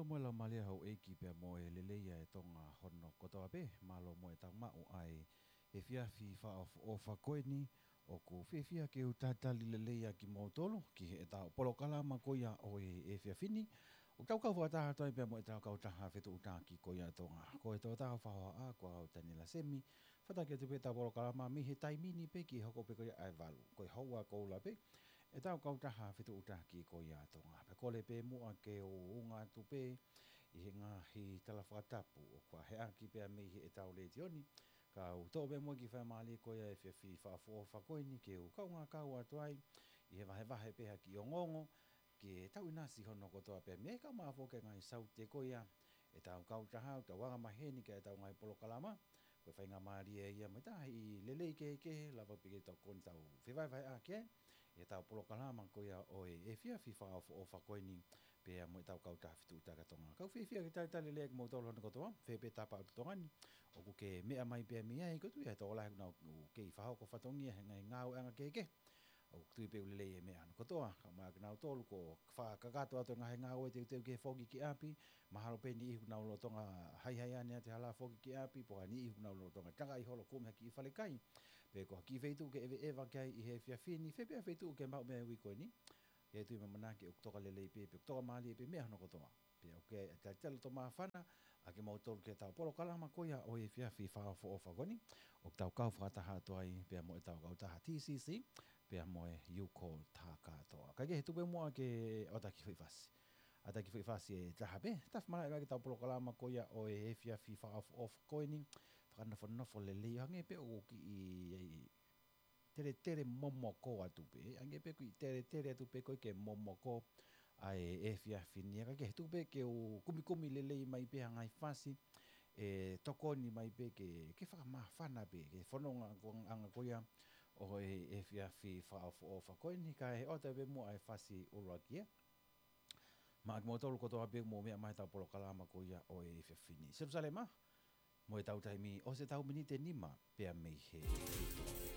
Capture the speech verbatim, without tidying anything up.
Mālō mo e laumālie ʻa houʻeiki pea mo e lelei ʻa e Tonga hono kotoa pē. Mālō mo ʻetau maʻu ʻa e efiafi fakaʻofoʻofa ko eni. ʻOku fiefia ke u talitali lelei ʻa kimoutolu ki heʻetau polokalama ko ia ʻo e efiafi ni. ʻOku tau kau fakataha atu ai pea mo ʻetau kautaha fetuʻutaki ko ia ʻa Tonga. Ko e tokotaha fakahohaʻa ko au Taniela Semi. Fataki atu pē ʻetau polokalama mei he taimi ni pē ki he hoko pē ko ia ʻa e valu. Ko e houa koula pē ʻetau kautaha fetuʻutaki ko ia ʻa Tonga. Pea kole pē muʻa ke u ʻunga atu pē ʻi he ngaahi tala fakatapu ʻoku faʻa heʻaki pea mei heʻetau letiō ni. Ka u toʻo pē muʻa ki he faingamālie ko ia ʻo e efiafi fakaʻofoʻofa ko eni ke u kaungā kau atu ai ʻi he vahevahe pē ha kiʻi ongoongo ki heʻetau ʻinasi hono kotoa pē mei he kau mafoke ngaahi saute ko ia ʻetau kautaha, ʻetau anga maheni ki heʻetau ngaahi polokalama. Ko e faingamālie ia mo e taha e lelei kehekehe, lava pē ke tokoni ʻetau fevahevaheʻaki ʻi heʻetau polokalama ko ia ʻo e efiafi fakaʻofoʻofa ko eni pea mo ʻetau kautaha fetuʻutaki ʻa Tonga. Kau fiefia ke talitali lelei ʻa kimoutolu hono kotoa, fē pē tapa ʻo Tonga ni ʻoku ke meʻa mai pea mei ai, ko e tui ʻa e tokolahi ʻoku nau kei fakahoko fatongia he ngaahi ngāueʻanga kehekehe. ʻOku tui pē ʻoku lelei e meʻa hono kotoa, kae ʻumaʻā kinautolu ʻoku fakakakato atu e ngaahi ngāue teuteu ki he foki ki ʻapi, mahalo pē niʻihi ʻoku nau lolotonga haihai ʻanenai ʻi he hala foki ki ʻapi, pe ko ha niʻihi ʻoku nau lolotonga takaʻi holo kumi ha kiʻi falekai, pe ko ha kiʻi feituʻu ke ʻeveʻeva ki ai ʻi he efiafi ni, fē pē ha feituʻu ke maʻu mei ai ʻi he uike ko eni. ʻOku ou tui mo ʻamanaki ʻoku toka lelei pē, pe ʻoku toka mālie pē meʻa hono kotoa. Pea ʻoku ou talitali loto māfana ʻa kimoutolu ki heʻetau polokalama ko ia ʻo e efiafi fakaʻofoʻofa ko eni. ʻOku tau kau fakataha atu ai pea mo ʻetau kautaha T C C, pea mo e U K O T kātoa. Kae kehe, tuku pē muʻa ke ʻoatu ha kiʻi foʻi fasi. ʻOatu ha kiʻi foʻi fasi ʻe taha pē, tafa malaʻe mai ki heʻetau polokalama ko ia ʻo e efiafi fakaʻofoʻofa ko eni. Fakanofonofo lelei, hangē pē ʻoku kiʻi teletele momoko atu pē, hangē pē kiʻi teletele atu pē ko ē ke momoko ʻa e efiafi ni. Kae kehe, tuku pē ke u kumikumi lelei mai pē ha ngaahi fasi ʻe tokoni mai pē ke, ke fakamāfana pē ki he fononga ko, anga ko ia ʻo e efiafi fakaʻofoʻofa ko eni. Kae ʻoatu pē muʻa e fasi ʻuluaki ia maʻa kimoutolu kotoa pē ʻoku mou meʻa mai heʻetau polokalama ko ia ʻo e efiafi ni. Selusalema, mo ʻetau taimi, ʻosi ʻetau miniti ʻe nima pea mei he fitu.